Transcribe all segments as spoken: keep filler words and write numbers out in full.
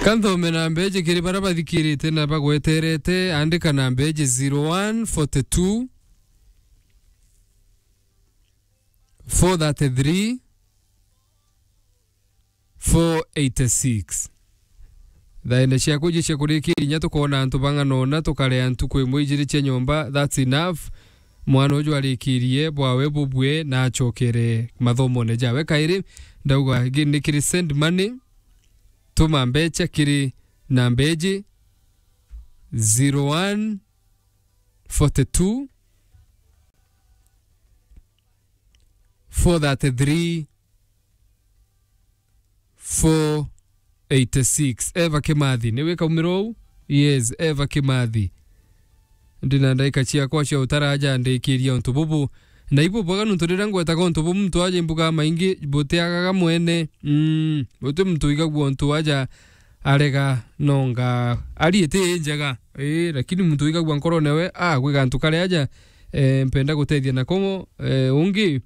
Ka nthome namba iji kiri baria bathikirite na bagweterete, andika namba iji: zero one forty two, four thirty three, four eighty six. Thaene ciaku iji cia kurikiria inya tukoona antu bang'ana una, tukarea ntuku imwe ijiri cia nyomba, that's enough. Mwana uju arikirie bwawe bubue na acokere mathomone jawe kairi. Ndauga gi-, ni kiri send money, tuma mbecha kiri namba iji: zero one forty two, four thirty three, four eighty six. Eva Kimathi, ni wika umiro uu? Yes, Eva Kimathi. Ndina ndaika ciakwa cia utaraja ndikiria untu bubu. Na ibu bwaga nuntu riria ngwetaga untu bu muntu aja imbuga maingi butiagaga mwene. Mm, buti muntu igagua untu aja arega nonga ari iti njega. Ii, lakini muntu igagua nkorone we, ah, gwi gantu kari aja, eh, mpenda gutethia nako, eh, ungi,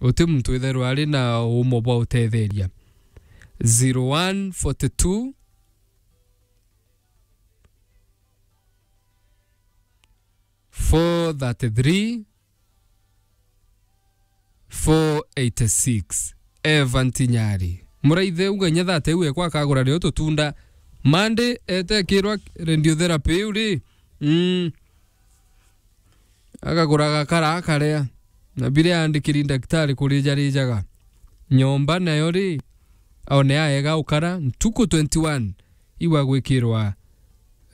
uti muntu itherwa ari na umo bwa utetheria. Zero one forty two, four thirty three, four eighty six. Evan Tinyari. Muraithe uga inya thate iu ekwa akagura rio tutunda. Mandi etekirwa radiotherapy iu ri. Mm. Akagura gakara akaria. Na biria andikiri ndagitari kurijarijaga. Nyomba nayo ri, one aega ukara ntuku twenty one. Iwa gwikirwa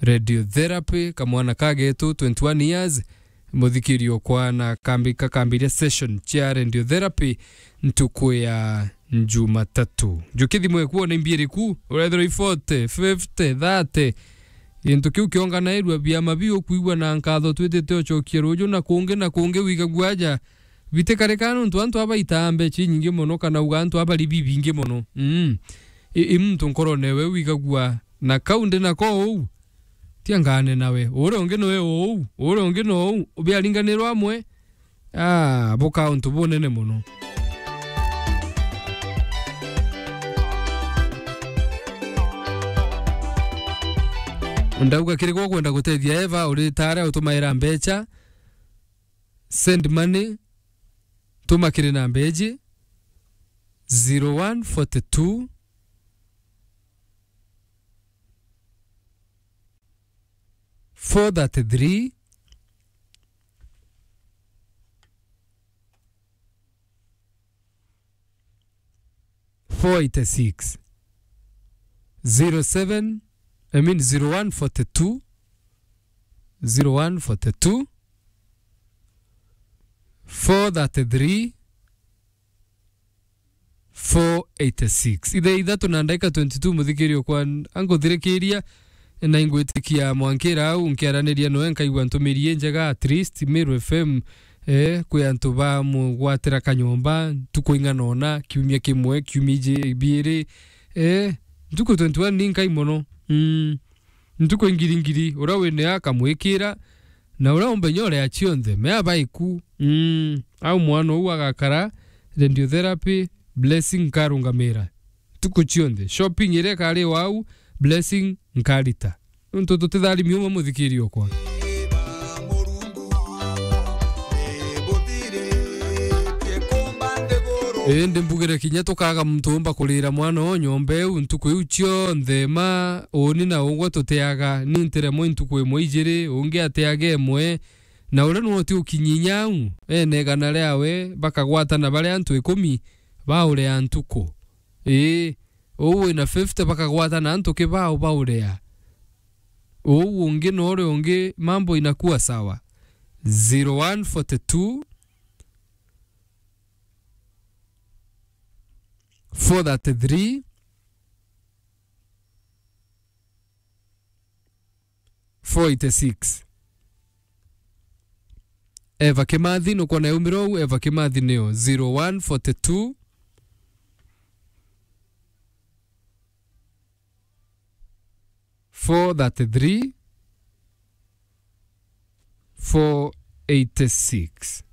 radiotherapy, kamwana ka getu, twenty one years, muthikiri okwa na kambi-, kakambiria session cia radiotherapy ntuku ya Jumatatu. Njuki thimu eku ona imbiiri ku, urethirwa i forty, fifty, thirty. Gintu kiu kionganairua biama biu ukwigua na nkatho twitite ucokie ruju na kungi na kungi wigagua aja bitikarika nontu antu aba itaa mbecha inyingi mono kana uga antu aba ri bibingi mono. Mm. I, i muntu nkorone we wigagua na kau ndi nako uu, tia ngane nawe. Uria ungi noe uu, uria ungi no uu, biaringanirwa amwe, ah, buka untu bunene mono. Ndauga kiri gwa kwenda gutethia Eva, uri tare utumaira mbecha, send money, tuma kiri namba iji: zero one forty two, four thirty three, four eighty six. Zero seven, I mean zero one forty two, zero one forty two, four thirty three, four eighty six. Ithaa ithatu na ndagika twenty two, muthikiri okwa, anguthirikiria, na ingwitikia mwankira au, nkiaraniria noe, nkaigua ntumiri injega, at least Meru F M, eh, kwi antu bamugwatira kanyomba, ntuku ing'ana ona, kiumia kimwe, kiumia iji-, ibiiri, eh, ntuku twenty one ni nkai mono. Mm. Ntuku ingiri ngiri, uria wine akamwikira, na uria umbe nyore ya cionthe, mea baiku. Mm, au mwana uu agakara radiotherapy, Blessing nkarungamira. Ntuku cionthe, shopping iria ikari wau, Blessing nkarita. Nontu tutitharimi umwe, muthikiri okwa. Indi mbugire kinya tukaga muntu umba kurira mwana o nyomba iu ntuku iu cionthe, ma uni na ugwe tutiaga, ni ntiremwe ntuku imwe ijiri, ungi atiage imwe, na uria nwe uti ukinyinya au, ene igana riawe, bakagwatana bari antu ikumi, baurea ntuku. Ii, uu wina fifty bakagwatana antu kibao baurea. Uu ungi na uria ungi, mambo inakuwa sawa. Zero one forty two, four thirty three, four eighty six. Eva Kimathi, nukwona yaumira uu, Eva Kimathi niyo zero one forty two, four thirty three, four eighty six.